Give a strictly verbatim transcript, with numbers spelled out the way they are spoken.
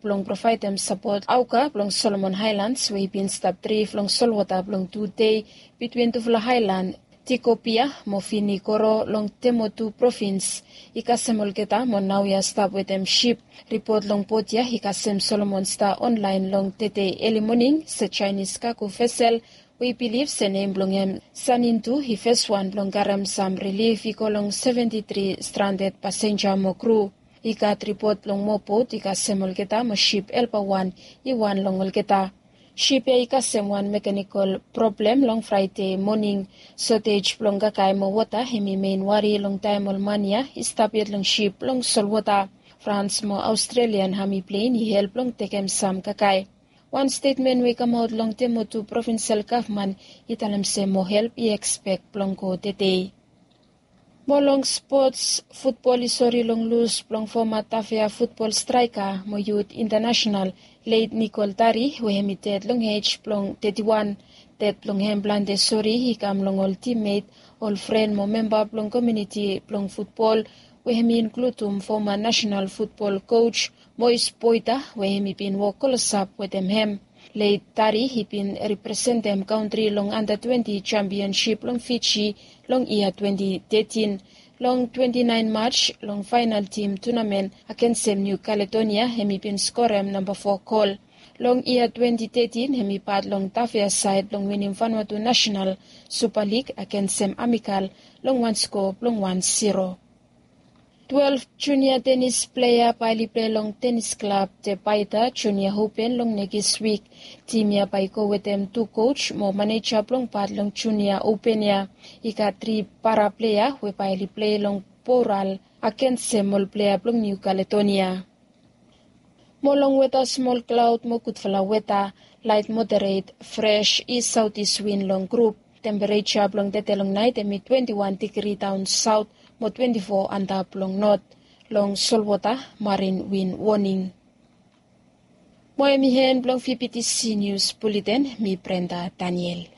blong provaedem sapot aoka blong Solomon Haelands we i bin stap drif long solwota blong tu dei bitwin tufala haelan Tikopia mo Finikoro long Temotu provins i kasem olgeta mo naoia stap wetem sip. Ripot long bot ya i kasem Solomon Star Online long tedei eli moning se Chinese kago vesel we i bilif se nem blong hem Sanintu i feswan blong karem sam rilif i go long seventi tri stranded pasenja mo kru. I gat ripot blong moa bot i kasem olgeta mo sip helpawan i wan long olgeta. Sip ya i kasem wan mekanikol problem long Fraede moning. Sotej blong kakae mo wota hem i mein wari long taem ol man ya i stap yet long sip long solwota. Frans mo Australian ami plen i help long tekem sam kakae. Wan stetmen we i kamaot long Temotu provinsel gavman i talem se moa help i ekspek blong go tedei. Mo long spots, futbol i sori long lus blong foma Tafea futbol straeka mo yut intanasenal leit Nikol Tari we hem i ded long ej blong teti wan. Ded blong hem plante sori i kam long ol timmet, ol fren mo memba blong komuniti blong futbol we hem i inkludim foma nasenal futbol koj Mois Boita we hem i bin wok klosap wetem hem. Leit Tari i bin representem kantri long anda twenti jampionsip long Fiji long yia twenti tetin. Long twenti naen Maj long faenal tim tunamen agensem Niu Kaledonia hem i bin skorem namba fo gol. Long yia twenti tetin hem i pat long Tafea saed blong winim Vanuatu Nasenal Supa Lig agensem Amikal long wan sko blong wan siro. Twelef junia tenis plea bae oli plei long tenis klab Tebaita Junia Open long nekis wik. Tim ya bae i go wetem tu koj mo maneja blong pat long junia open ya. I gat tri para plea we bae oli plei long boral agensem ol plea blong Niu Kaledonia. Mo long weta smol klaod mo gudfala weta, laet moderet, fres i saotis win long grup. Tempereja blong tede long naet hem i twenti wan digri daon saot mo twenti fo antap long not. Long solwota marin win woning. Mo hem i hen blong vptc nius buleten, mi Brenda Daniel.